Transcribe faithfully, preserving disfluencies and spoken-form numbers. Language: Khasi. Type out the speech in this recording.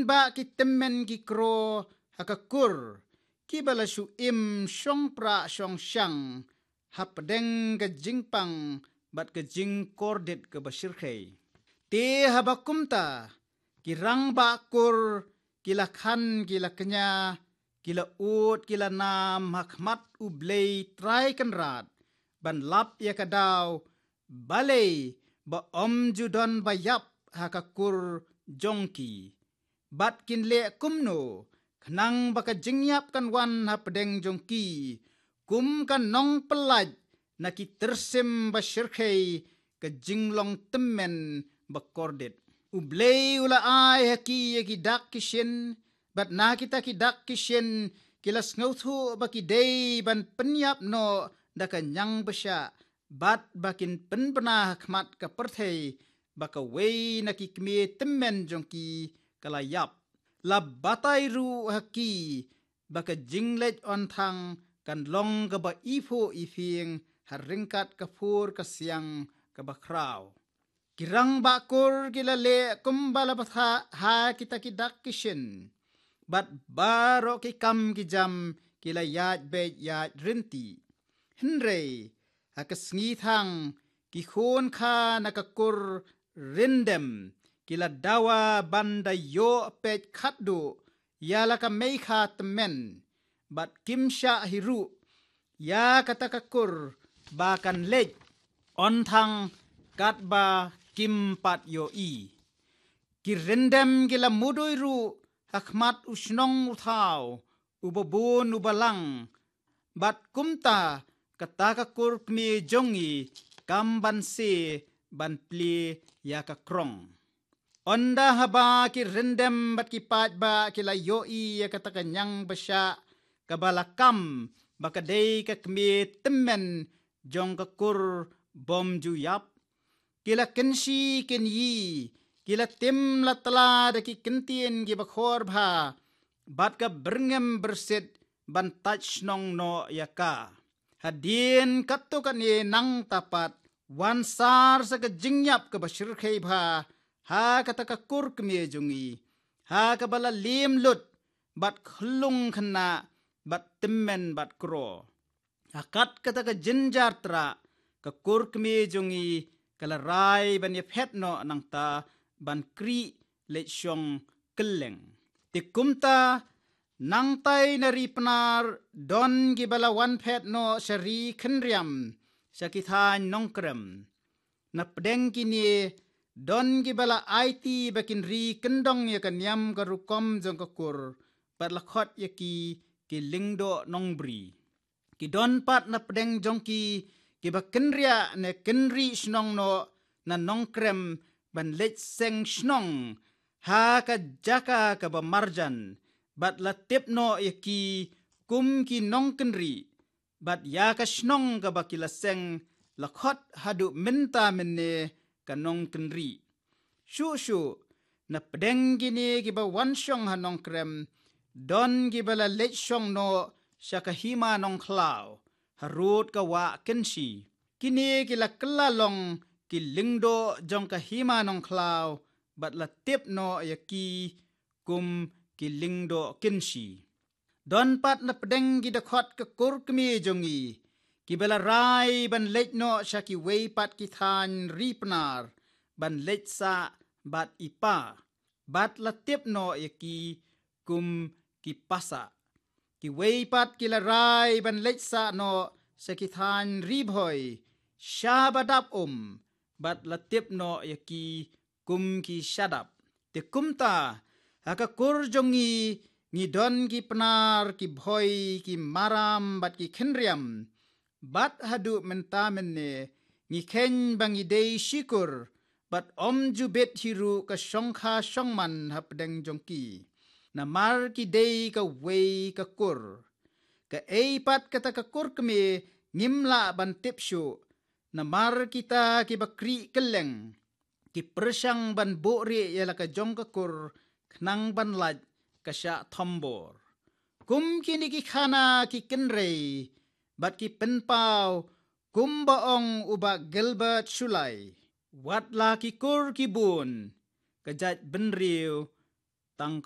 Ba ki tymmen ki kro ha ka kur, kiba la shu im shong pra shong shang hapdeng ka jingpang bad ka jingkordit kaba shyrkhei. Te haba kumta, ki rangbah kur ki la khan ki la kñia, ki la ud ki la nam ha khmat U Blei Trai Kynrad, ban lap ïa ka daw balei ba ym ju don ba ïap ha ka kur jong ki. Bad kin leh kumno, khnang ba ka jingïap kan wan hapdeng jong ki kum ka nongpyllait na ki tyrsim ba shyrkhei ka jinglong tymmen ba kordit. U Blei u la ai ha ki ïa ki dak ki shin, bad na kita ki dak ki shin ki la sngewthuh ba ki dei ban pynïap noh da ka ñiang bashah, bad ba kin pynbna ha khmat ka pyrthei ba kawei na ki kmie tymmen jong ki ka la ïap. La batai ruh ha ki ba ka jingleit on thang kan long kaba iphuh iphieng ha ryngkat ka phur ka siang kaba khraw. Ki rangbah kur ki la leh kumba la batai ha kita ki dak ki shin, bad baroh ki kam ki jam ki la ïaid beit ïaid rynti. Hynrei ha ka sngi thang, ki khun kha na ka kur Ryndem ki la dawa ban da ïoh peit khatduh ïa la ka meikha tymmen, bad kim shah hi ruh ïa kata ka kur ba kan leit on thang katba kim pat ïohi. Ki Ryndem ki la mudui ruh ha khmat u shnong u thaw, uba bun uba lang, bad kumta kata ka kur kmie jong ngi kam ban sie ban plie ïa ka krong. Ynda haba ki Ryndem bad ki paidbah ki la ïohi ïa kata ka ñiang bashah kaba la kam ba ka dei ka kmie tymmen jong ka kur bym ju ïap, ki la kynshi kynyi, ki la tim la tla da ki kyntien kiba khor bha bad ka byrngem byrsit ban tait shnong noh ïa ka. Hadien katto katne nangta pat, wan sar sa ka jingïap kaba shyrkhei bha ha kata ka kur kmie jong ngi, ha kaba la liem lut bad khyllung khynnah bad tymmen bad kro. Ha kat kata ka jynjar trah, ka kur kmie jong ngi ka la rai ban ïaphet noh nangta ban krieh leit shong kylleng. Te kumta, nangtai na Ri Pnar don kiba la wan phet noh sha Ri Khynriam, sha ki thaiñ Nongkrem. Na pdeng kine, don kiba la aiti ba kin ri kyndong ïa ka niam ka rukom jong ka kur, bad la khot ïa ki, ki Lyngdoh Nongbri. Ki don pat na pdeng jong ki, kiba kynriah ne kynrieh shnong noh na Nongkrem ban leit seng shnong ha ka jaka kaba marjan, bad la tip noh ïa ki kum ki nongkynrieh, bad ïa ka shnong kaba ki la seng la khot haduh mynta mynne ka Nongkynrieh. Shuh shuh, na pdeng kine kiba wan shong ha Nongkrem, don kiba la leit shong noh sha ka Hima Nongkhlaw, harud ka Wah Kynshi. Kine ki la kylla long ki lyngdoh jong ka Hima Nongkhlaw, bad la tip noh ïa ki kum ki Lyngdoh Kynshi. Don pat na pdeng ki dkhot ka kur kmie jong ngi, kiba la rai ban leit noh sha kiwei pat ki thaiñ Ri Pnar, ban leit sah bad i pa, bad la tip noh ïa ki kum ki Pasah. Kiwei pat ki la rai ban leit sah noh sha ki thaiñ Ri Bhoi, sha ba dap um, bad la tip noh ïa ki kum ki Shadap. Te kumta, ha ka kur jong ngi, ngi don ki Pnar, ki Bhoi, ki Maram, bad ki Khynriam. Bad haduh mynta mynne, ngi kheiñ ba ngi dei shi kur, bad ym ju bit hi ruh ka shongkha shongman ha pdeng jong ki. Namar ki dei kawei ka kur. Kaei pat kata ka kur kmie ngim lah ban tip shuh. Namar kita kiba krieh kylleng, ki pyrshang ban buhrieh ïa la ka jong ka kur, khnang ban lait ka shah thombor. Kum kine ki khana ki kynrei, bad ki pynpaw, kumba ong u Bah Gilbert Shullai. Wat la ki kur ki bun, ka jaitbynriew tang